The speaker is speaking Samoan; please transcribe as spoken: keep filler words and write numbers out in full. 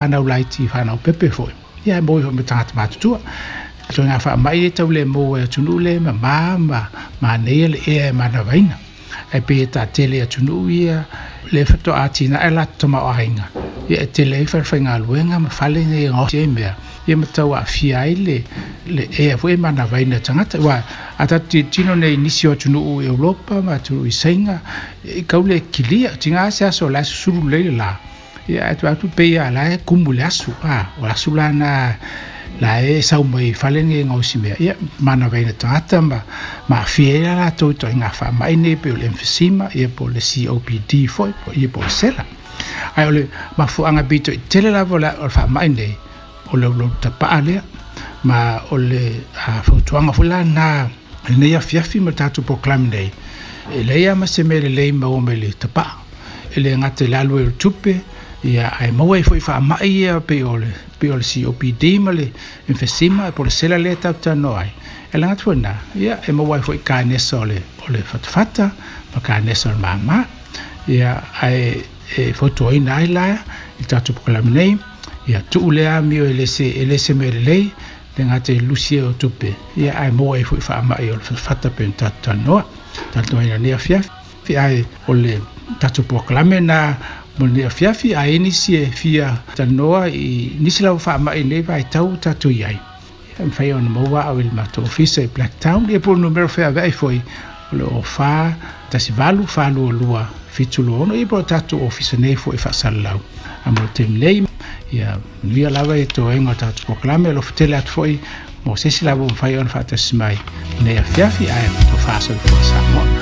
Fanau laiti, fanau pepe foi, ia e maua ai foi ma tagata matutua. Ituaiga faamai e tau le maua e atunuu le mamā ma manaia le ea e manavaina. Ae pei e taatele i atunuu ia le faatoa atinae latou tamaoaiga, ia e tele ai falefaigaluega ma fale nei e gaosi ai mea, ia ma tau aafia ai le le ea foi e manavaina e tagata. Aua a tatou tilotilo nei i nisi o atunuu i Europa ma atunuu i Saina, e kau le kilia, tiga se aso o la e susulu lelei le la. Ia ae tuu atu pei lava o la e kumu i le asu, a o le asu la lena la e sau mai fale nei e gaosi mea, ia manavaina tagata ma ma aafia ai la latou i ituaiga faamai nei pei o le emphysema, ia po o le C O P D foi, ia po o le sela. Ae o le mafuaaga pito i tele lava o le faamai nei, o le ulaula tapaa lea, ma o le fautuaga foi la lena i lenei afiafi ma le tatou polokalame nei, e leai lava ma se mea lelei maua mai le tapaa. E le gata i le alu ai o le tupe, ia ae maua ai foi faamai ia pei o le pei o le C O P D ma le emphysema po o le sela lea tatou talanoa ai. E le gata foi i lena, ia e maua ai foi kanesa o le o le fatafata ma kanesa o le māmā. Ia ae e fautuaina ai la i tatou polokalame nei, ia tuu lea amio e le se e le se mea lelei, le gata i le lusi o tupe, ia ae maua ai foi faamai o le fatafata pei ona tatou talanoa. Talanoaina lenei afiafi, ae o le tatou polokalame na mo lenei afiafi, ae i nisi e fia talanoa i nisi lava faamai nei vaitau tatou i ai. Ia, mafai ona maua au i le matou ofisa i Blacktown, ia po o le numera feaveai foi o le o fa tasi valu fa lua lua fitu lua ono, ia po o tatou ofisa nei foi faasalalau. A mo le taimi nei, ia manuia lava i toega o tatou polokalame, alofa tele atu foi mo se isi lava ua mafai ona faatasi mai lenei afiafi, ae tofa soifua Samoa.